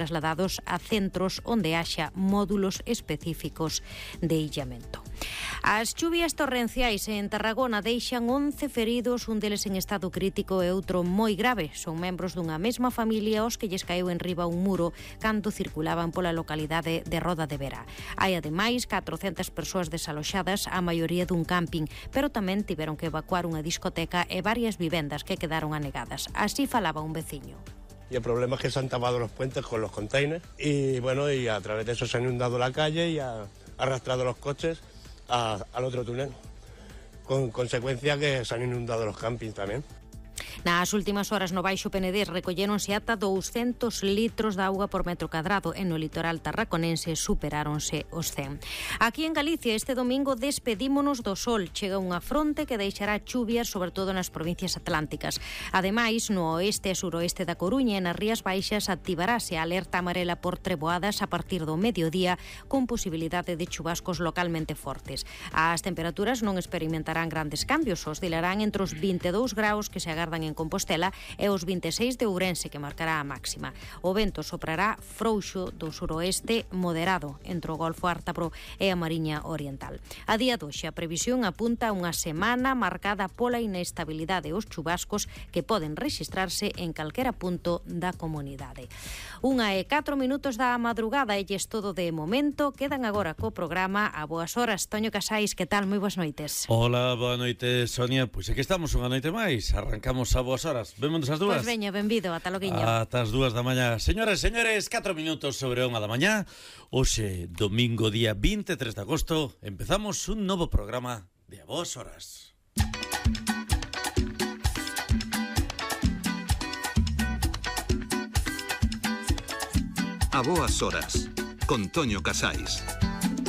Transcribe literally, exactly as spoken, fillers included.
trasladados a centros onde haxa módulos específicos de illamento. As chuvias torrenciais en Tarragona deixan once feridos, un deles en estado crítico e outro moi grave. Son membros dunha mesma familia os que lles caeu en riba un muro cando circulaban pola localidade de Roda de Vera. Hai ademais catrocentas persoas desaloxadas, a maioría dun camping, pero tamén tiveron que evacuar unha discoteca e varias vivendas que quedaron anegadas. Así falaba un veciño. Y el problema es que se han tapado los puentes con los containers y bueno, y a través de eso se han inundado la calle y ha arrastrado los coches a, al otro túnel, con consecuencia que se han inundado los campings también. Nas últimas horas no Baixo Penedés recolléronse ata douscentos litros de auga por metro cadrado e no litoral tarraconense superáronse os cen. Aquí en Galicia este domingo despedímonos do sol. Chega unha fronte que deixará chuvias sobre todo nas provincias atlánticas. Ademais, no oeste e suroeste da Coruña e nas Rías Baixas activarase a alerta amarela por treboadas a partir do mediodía con posibilidade de chubascos localmente fortes. As temperaturas non experimentarán grandes cambios, oscilarán entre os vinte e dous graus que se agardan en en Compostela e os vinte e seis de Ourense, que marcará a máxima. O vento soprará frouxo do suroeste moderado entre o Golfo Ártabro e a Mariña Oriental. A día doxe a previsión apunta a unha semana marcada pola inestabilidade e os chubascos que poden rexistrarse en calquera punto da comunidade. Unha e catro minutos da madrugada e lles todo de momento. Quedan agora co programa A Boas Horas. Toño Casais, que tal? Moi boas noites. Hola, boa noite, Sonia. Pois aquí estamos unha noite máis. Arrancamos a Boas Horas. Vémonos as dúas? Pois veña, benvido, ata loguiño. Ata as dúas da mañá. Señoras e señores, catro minutos sobre a unha da mañá. Hoxe, domingo, día vinte e tres de agosto, empezamos un novo programa de A Boas Horas. A Boas Horas, con Toño Casais.